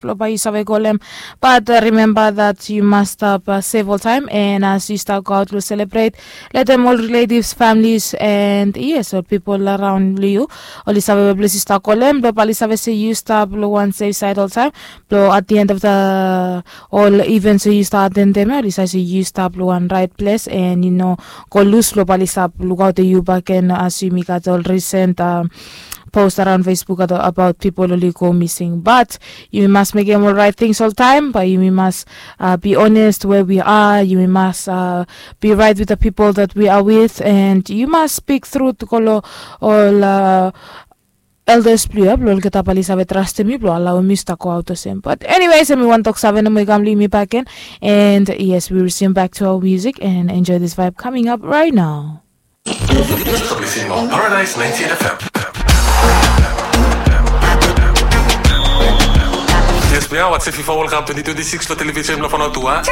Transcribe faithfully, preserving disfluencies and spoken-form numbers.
Blong bae yu save kolem. Bat rimemba dat yu mas stap sef oltaem, and as yu stap go aot blong selebret, letem ol relatives, families, and yes, ol pipol araon long yu, oli save we ples yu stap kolem, blong bae oli save se yu stap long wan sef saed oltaem. Blong at the end of the ol events we yu stap atendem ya, oli save se yu stap long wan raet ples, and yu no go lus, blong bae oli stap lukaotem yu bakegen, as yumi gat ol risent post araon Facebook abaot pipol oli go mising. Bat yumi mas mekem ol raet tings oltaem, bae yumi mas be honest where we are, yumi mas be right with the people that we are with, and yu mas spik trut go long ol elders blong yu ya, blong olgeta bae oli save trastem yu blong alaoem yu stap go aot olsem. Bat anyways, hemi wan toksave nomo i kam long yumi bakegen. And yes, we resume back to our music and enjoy this vibe coming up right now. Paradise ninety-eight F M. Yes, we are watching FIFA World Cup twenty twenty-six lo television lo Fanotua.